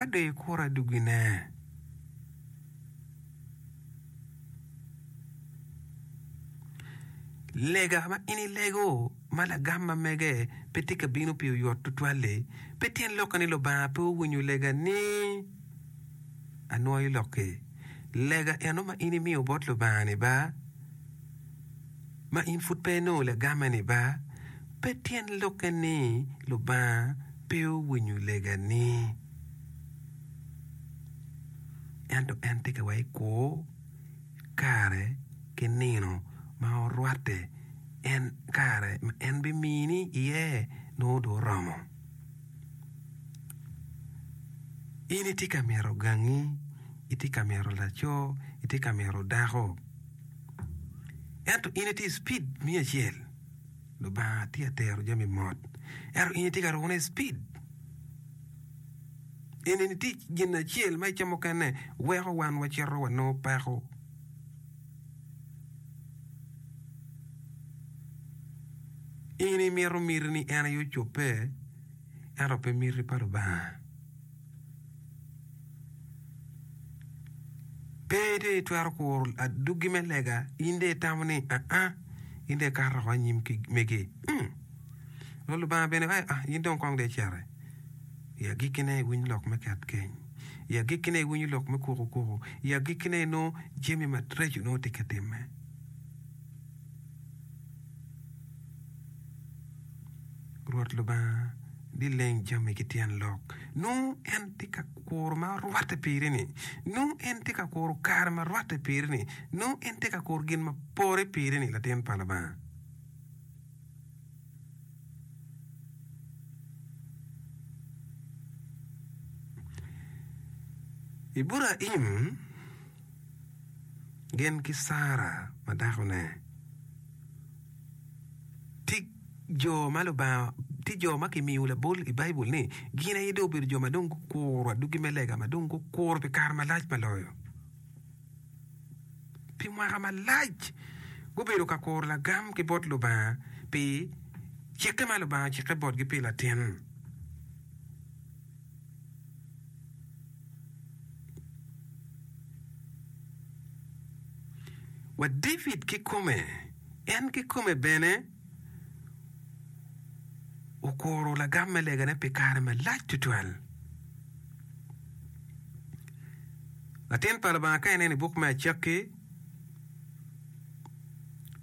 Ka dong ikuro adwogine. Lega ma in ilego ma lagam ma mege pe tye ka bino pi oyot tutwal-li, pe tyen lokke ni Lubanga pe owinyo lega-ni. Anwoyo lokki. Lega eno ma in imiyo bot Lubanga-ni ba, ma in pud pe inongo lagamme-ni ba, pe tyen lokke ni Lubanga pe owinyo legani, ento en tye ka wa i kur kare ki nino ma orwatte en kare ma en bimini iye nongo dong oromo. In itye ka mito gangi, itye ka mito laco, itye ka mito dako, ento in itye i cipid me acel. Lubanga tye ka tero jami mot, ento in itye ka rukone i cipid. Eni tye gin acel ma i ca mukene weko wan wacito wanongo peko. In imito miti ni en aye ocobbe, ento pe miti pa Lubanga. Pe dong itwero kuro adwogi me lega, in dong itamo ni, 'Aa, in dong ikato woko anyim ki megi. Nongo Lubanga bene waco, 'Ah, in dong kong dong iciti. I agikkine iwinyo lok me ket keny. I agikkine iwinyo lok me kuku kuku. I agikkine inongo jami maraco nongo tye ka timme. Rwot Lubanga bileng jami ki tyen lok. Nongo en tye ka kuro ma rwatte piri-ni. Nongo en tye ka kuro kare ma rwatte piri-ni. Nongo en tye ka kuro gin ma pore piri-ni, latin pa Lubanga. Iburaim gin ki Cara ma dakone. Tye jo ma Lubanga, tye jo ma kimiyo labol i Baibul ni gin aye dong obedo jo ma dong gukuro adwogi me lega ma dong gukuro pi kare malac ma loyo. Pi mwaka malac gubedo ka kuro lagam ki bot Lubanga pi cikke ma Lubanga ocikke botgi pi latin. Wa David kikome, en kikome bene okuro lagam me legane pi kare malac tutwal. Latin pa Lubanga ka ineno i buk me Acakki,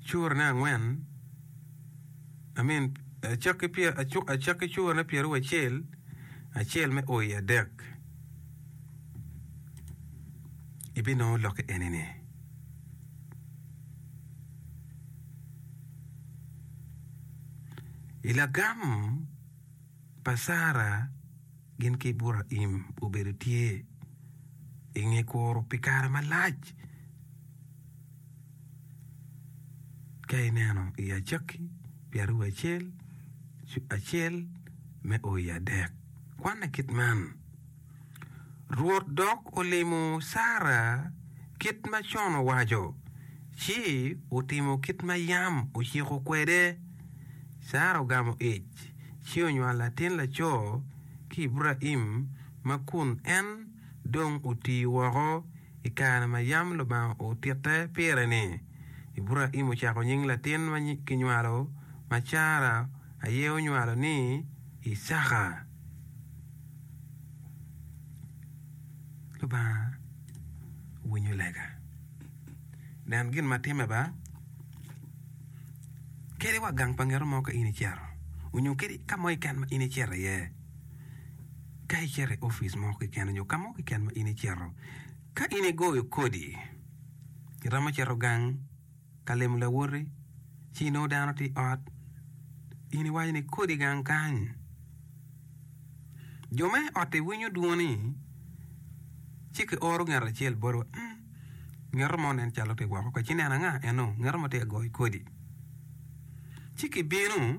curane angwen, I mean, Acakki Acakki curane pyeraucel, acel me o i adek, ibinongo lokke eni-ni. I lagam pa Cara gin ki Iburaim obedo tye i nge kuro pi kare malac. Ka ineno i Acakki pyeraucel acel me o i adek, kwanne kit man, Rwot dok olimo Cara kit ma con owaco, ci otimo kit ma yam ociko kwede. Cara ogamo ic, ci onywalo latin laco ki Iburaim ma kun en dong oti woko i kare ma yam Lubanga otitte pire-ni. Iburaim ocako nying latin ma kinywalo ma Cara aye onywalo ni Icaka. Lubanga winyo lega. Nen gin ma timme ba, kadi wa gang pa ngeto mo ka in icito, onyo kadi ka mo keken ma in icito iye, ka icito i opic mo keken nyo ka mo keken ma in icito, ka in igoyo kodi, iromo cito gang ka limo lawoti, ci inongo dano tye i ot, in iwaco ni kodi gang kany. Jo me ot-ti winyo dwoni ci kioro ngat acel boti wa, ngeto mo nen calo tye woko ka ci ineno anga eno ngeto mo tye ka goyo kodi. Ci kibino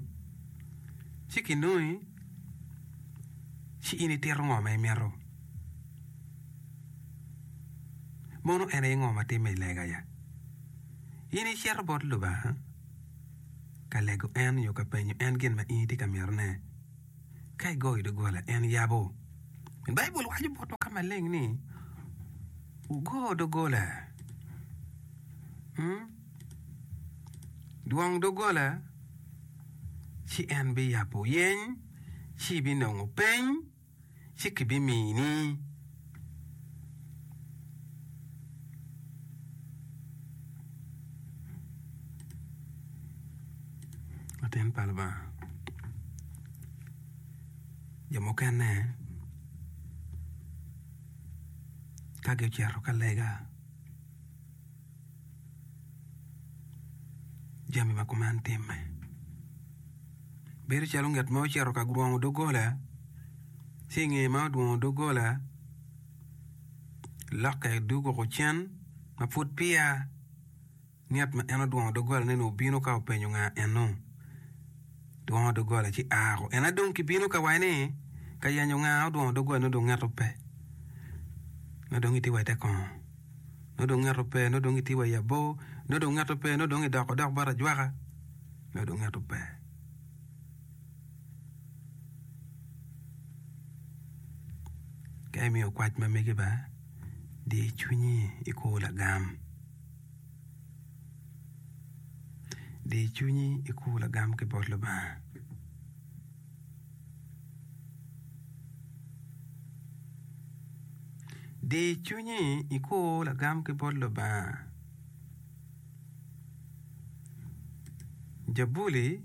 ci kinongi ci in itito ngo ma imito. Mono en aye ngo ma timme i lega ya? In icito bot Lubanga ka lego en nyo ka penyo en gin ma in itye ka mitone. Ka igoyo doggola, en yabo. Pien Baibul waco botwa ka maleng ni, Wugo doggola, dwong doggola, ci en biyabo. Yeny, ci ibinongo. Peny, ci kibimini. Latin pa Lubanga, jo mukene ka gucito ka lega jami ma kuman timme. Bedo calo ngat ma ocito ka dwongo doggola ci i nge ma odwongo doggola lokke dwogo cen ma pud peya ngat ma en odwongo doggolane-ni obino ka openyo nga eno dwongo doggola ci a en aye dong kibino ka waci ni ka yenyo nga odwongo doggola nongo dong ngeto pe nongo dong itye wa ite kongo nongo dong ngeto pe nongo dong itye wa i abor nongo dong ngeto pe nongo dong idoko dok bot ajwaka. Nongo dong ngeto pe. Ka imiyo kwac ma megi ba, di cwinyi ikur lagam. Di cwinyi ikur lagam ki bot Lubanga. Di cwinyi ikur lagam ki bot Lubanga. Jabuli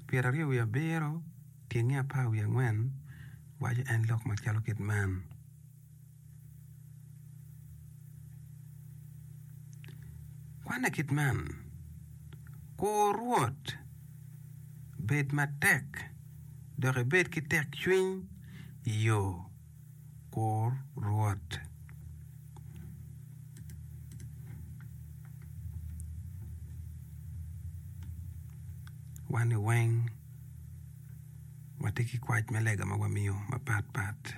27 tyenge 14 waco en lok macalo kit man, Kwanne kit man, Kur Rwot, bed matek, dok ibed ki tekcwiny, iyo, Kur Rwot. Wan ni weng watye ki kwac me lega ma wamiyo mapat pat.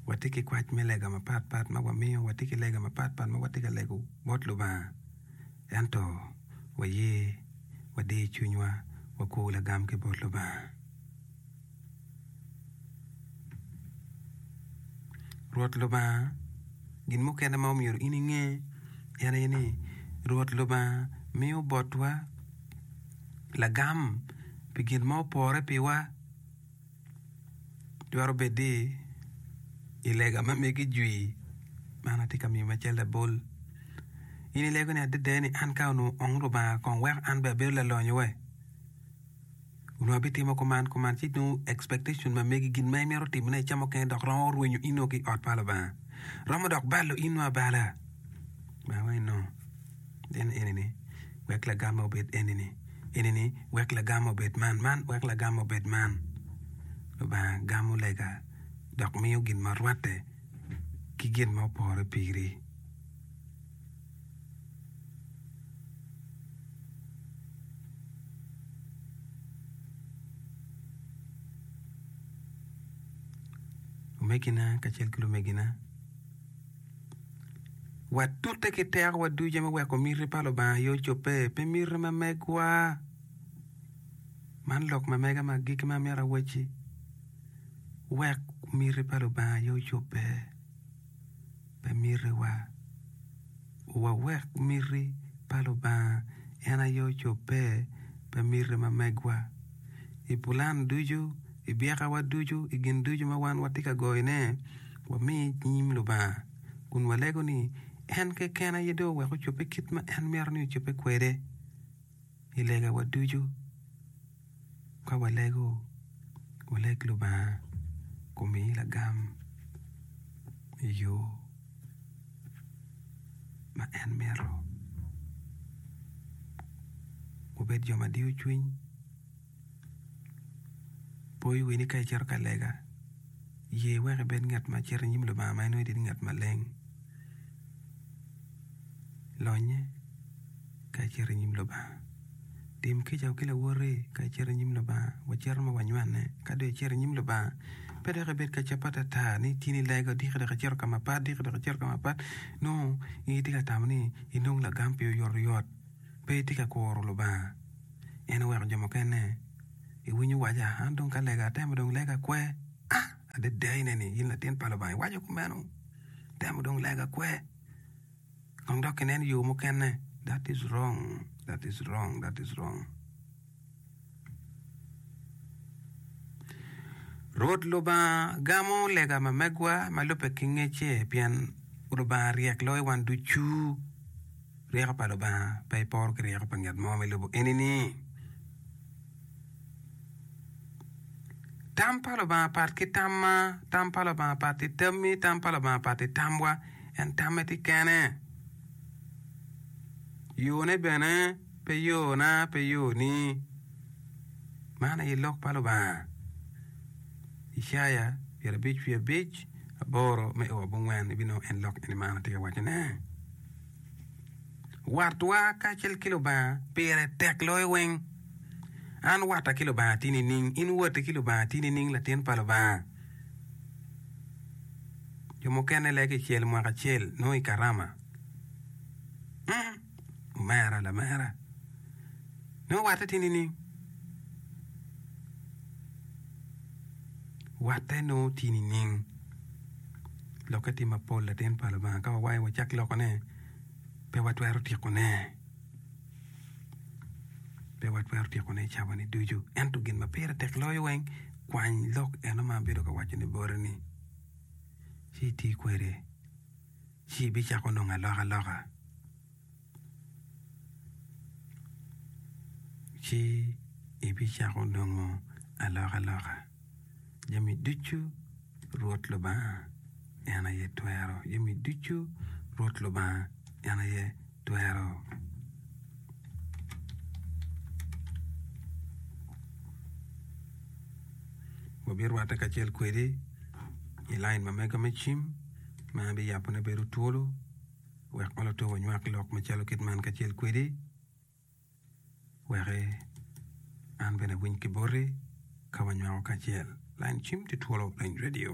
Watye ki kwac me lega mapat pat ma wamiyo, watye ki lega mapat pat ma watye ka lego bot Lubanga. Ento waye wadiyo cwinywa wakur lagam ki bot Lubanga. Rwot Lubanga, gin mukene ma omyero in inge en aye ni Rwot Lubanga miyo botwa lagam pi gin ma opore piwa. Twero bed ni i lega ma megi jwi, man atye ka miyo macalo labol, in ilego ni adada ni an ka onongo ong Lubanga kong weko an bene abedo lalonyo we. Onongo abitimo kuman kuman ci nongo expectation ma megi gin ma imito timone i ca mukene dok romo rwenyo in nongo ki i ot pa Lubanga. Romo dok balo in nongo abala. Lubanga waco ni no, en eni-ni wek lagamme obed eni-ni, eni-ni wek lagamme obed man, man wek lagamme obed man. Lubanga gamo lega dok miyo gin ma rwatte ki gin ma opore piri. Omegina kacel ki lumegina, watute ki tekowa ducu me weko miti pa Lubanga aye ocobbe, pe miti ma megwa. Man lok ma mega me agikki ma amito awacci, wek miti pa Lubanga aye ocobbe. Pe mitiwa. Wawek miti pa Lubanga en aye ocobbe, pe miti ma megwa. I pulan ducu, i byekawa ducu, i gin ducu ma wan watye ka goyone, wami nyim Lubanga kun walego ni en keken aye dong owek ocobbe kit ma en mito ni ocobbe kwede. I legawa ducu, ka walego, waleg Lubanga omi lagam i yo ma en mito. Wubed jo ma diyo cwiny, po i wi ni ka icito ka lega, ye wek ibed ngat ma cito i nyim Lubanga ma inongo itye ngat maleng. Lonye ka icito i nyim Lubanga. Tim kica ki lawoti ka icito i nyim Lubanga. Wacito ma wanywene. Ka dong icito i nyim Lubanga, pe dok ibed ka cabbe atata ni tin ilego diki dok icito ka mapat, diki dok icito ka mapat. Nongo in itye ka tamo ni inong lagam pi oyotoyot. Pe itye ka kuro Lubanga. En oweko jo mukene. Iwinyo waca, an dong ka lega atemo dong lega kwe. Ah! Adada ineni, in latin pa Lubanga, iwaco kumeno? Temo dong lega kwe. Kong dok inen yo mukene. That is wrong, that is wrong, that is wrong. Rwot Lubanga gamo lega ma megwa ma lubbe ki ngecce pien Lubanga ryek loyo wan ducu. Ryeko pa Lubanga pe iporo ki ryeko pa ngat mo me lobo eni-ni. Tam pa Lubanga pat ki tamma, tam pa Lubanga pat ki tammi, tam pa Lubanga pat ki tamwa, en tamme tye kene. Yone bene pe yona, pe yoni. Man aye lok pa Lubanga. Icaya 55 8 me o abongwen ibinongo en lok eni man atye ka wacone. Watwa kacel ki Lubanga pire tek loyo weng. An watta ki Lubanga tye nining? In watti ki Lubanga tye nining latin pa Lubanga? Jo mukene lege i cel mwaka acel nongo i karama. Mm, omera lamera. Nongo watte tye nining? Watte nongo tye nining? Lokke tye mapol latin pa Lubanga ka wawaco wacak lokone pe watwero tyekone. Pe watwero tyekone i cawa-ni ducu. Ento gin ma pire tek loyo weng, kwany lok eno ma abedo ka wacone boti-ni ci iti kwede ci ibicako nongo alokaloka. Ci ibicako nongo alokaloka. Jami ducu Rwot Lubanga en aye twero. Jami ducu Rwot Lubanga en aye twero. Wabirwatte kacel kwedi i lain ma mega me cim ma abiyabone bedo twolo wek oloto wanywak lok macalo kit man kacel kwedi. Wek an bene awiny ki boti ka wanywako kacel. Lain cim tye twolo, lain radio.